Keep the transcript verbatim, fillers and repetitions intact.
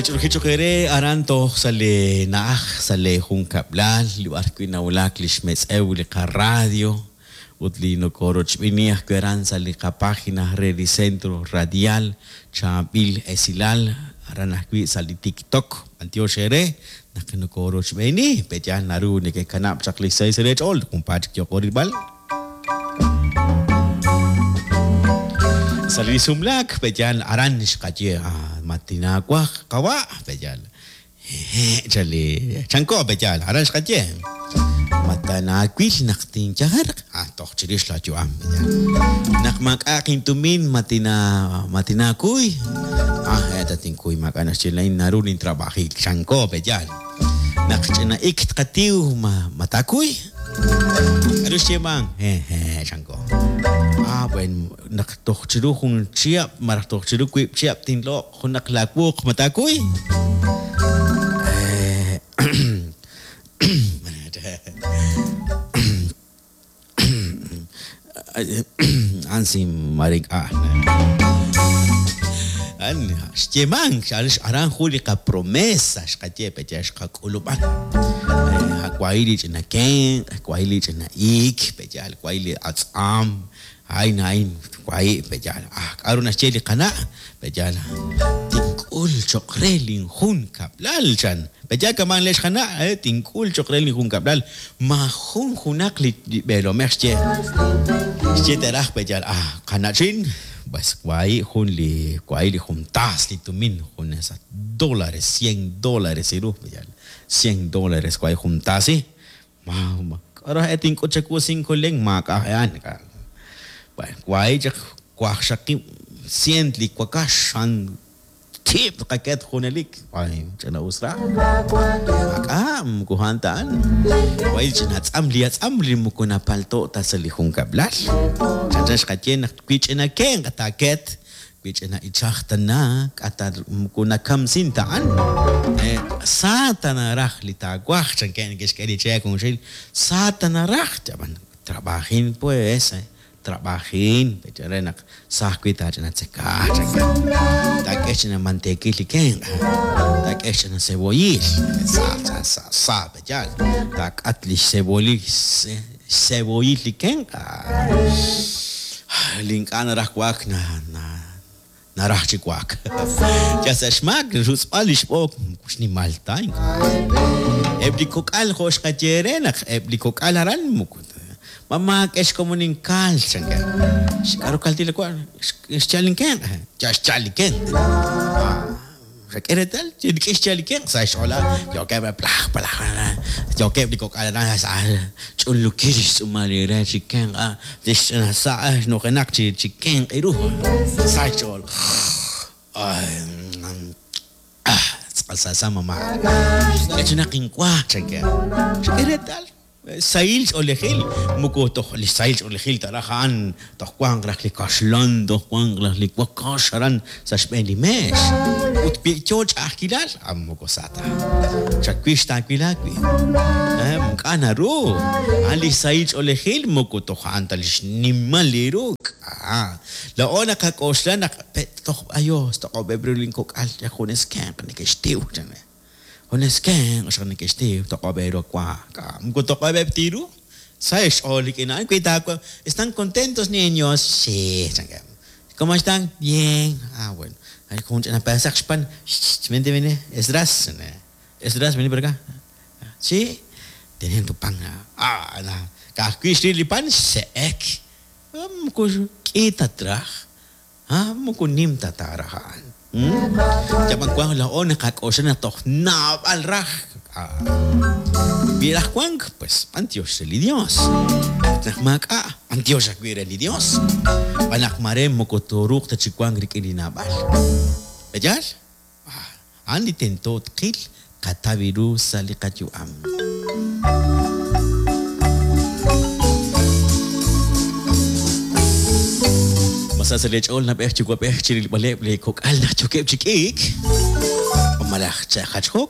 Sach'uljichoqere aran toj sa li na'aj sa li junkab'lal li b'ar wi' nawulak li xmetz'ew li qarradio ut li nokorochb'ini ajwi' aran sa li qapágina re li Centro Radial Chaab'il Esilal aran ajwi' sa li TikTok b'antiox eere naq nokorochb'eni pe'yaal naru neke'kanab' chaq li seis re ch'ool junpaat chik yooqo rilb'al. Sa li sumlaak pe'yaal aran xqaye ah, matinawaj qawa' pe'yaal hehe chali chanko pe'yaal aran xqaye matanawil naq tinyajerq ah toj chirix la yu'am pe'yaal naq maak'a'aq intumin matina matinakuy ah eta tinkuy maak'a' naxye lain naru nintrabajil chanko pe'yaal naq ch'ina ik tqatiw ma matakuy k'aru xyeeman hehe chanko ah bueno naq toj chiru jun chihab' malaj toj chiru wiib' chihab' tinloq' junaq laawuq matakuy Eh, ansi marink'a an xyeeman aran jun li qapromesa xqaye pe'yaal xqak'ulub'an wahi li ch'ina kenq' wahi li ch'ina iik pe'yaal wahi li atz'am ayn ayn wahi pe'yaal ah k'aru naxye li qana' pe'yaal tink'ul cho'q re linjun kab'lal chan pe'yaal kaman le xqana' eh tink'ul cho'q re linjun kab'lal majun junaq li b'eelomej xye xye teraj pe'yaal ah qana'chin pues wahi jun li wahi li jun taas li tumin jun esa dólares cien dólares iru pe'yaal cien dólares wahi jun taasi ma ma k'aru e tink'ut chawu cinco len maak'a' e'an bueno wahi chaq waqxaqib' cien li wakax an tib' qaket junelik ay ch'ina us raj maak'a' moko a'an ta a'an wahi ch'ina atz'am li atz'am li moko napalto' ta sa li junkab'lal chanchan xqaye naq wi ch'ina kenq' taaket wi ch'ina ichaj tana k'ata moko nakamsin ta a'an eh, sa tanaraj li taawaj chanke neke'xk'e li cheek junxil sa tanaraj chab'an trabajin pues eh trabajin re naq sa ajwi' taach'ina tzeka chanke taak'e ch'ina manteekil li kenq' taak'e ch'ina cebollil sa sa sa sa pe'yaal taak'at li xcebollil xcebollil li kenq' li ink'a' naraj wa'ak na na naraj chi wa'ak ya sa' xmaak rutz'b'al li xb'ook xnimal ta ink'a' eb' li kok'al jo' xqaye re naq eb' li kok'al aran moko mamá k'e xkomuninkal chanke k'aru kaltil wa xchal inkenq' ya xchal li kenq' ah xak'e reetal k'e xchal li kenq' sa' xch'ool yookeb' plaj plaj yookeb' li kok'al aran sa' ch'unlukil xtz'uumal li re chi kenq' li xch'ina sa' xnujenaq chi chi kenq' iru sa' xch'ool ay ah tz'aqal sa sa mamá k'e chinaq inwa chanke xak'e reetal sahil ch'oolejil moko toj li sahil ch'oolejil taraj a'an toj wanq raj li kaxlan toj wanq raj li wakax aran sa' xb'een li meex ut wi yoo ch'a'ajkilal ah moko sa ta chawix taawil aawi' eh ink'a' naru a'an li sahil ch'oolejil moko toj a'an ta li xnimal li ru ah laa'o naqak'oxla naq toj ayos toq'ob'eb' ru linkok'al junes kenq' neke'xtiw chan junes kenq' xaq neke'xtiw toq'ob'eb' ru wa moko toq'ob'eb' tiru sa' xch'ool rik'in a'an wi taawa ¿están contentos niños? Sí chanke ¿cómo están? Bien ah bueno jun ch'ina pedazaq xpan vente vente Esdras Esdras vení por acá sí tienen tu pan ah na ka'ajwi' xril li pan xse'ek moko k'i ta traj ah moko nim ta taaraj a'an yab'an wank laa'o naqak'oxla naq toj naab'al raj wi raj wank pues b'antiox re li Dios naq maak'a' b'antiox ajwi' re li Dios b'an naq mare moko tooruuq ta chi wank rik'in li naab'al pe'yaal a'an li tento tqil qataw ru sa' li qayu'am Masa sa lech'ool nab'ej chi wab'ej chirilb'aleb' li kok'al naq yookeb' chi k'iik malaj chajachjo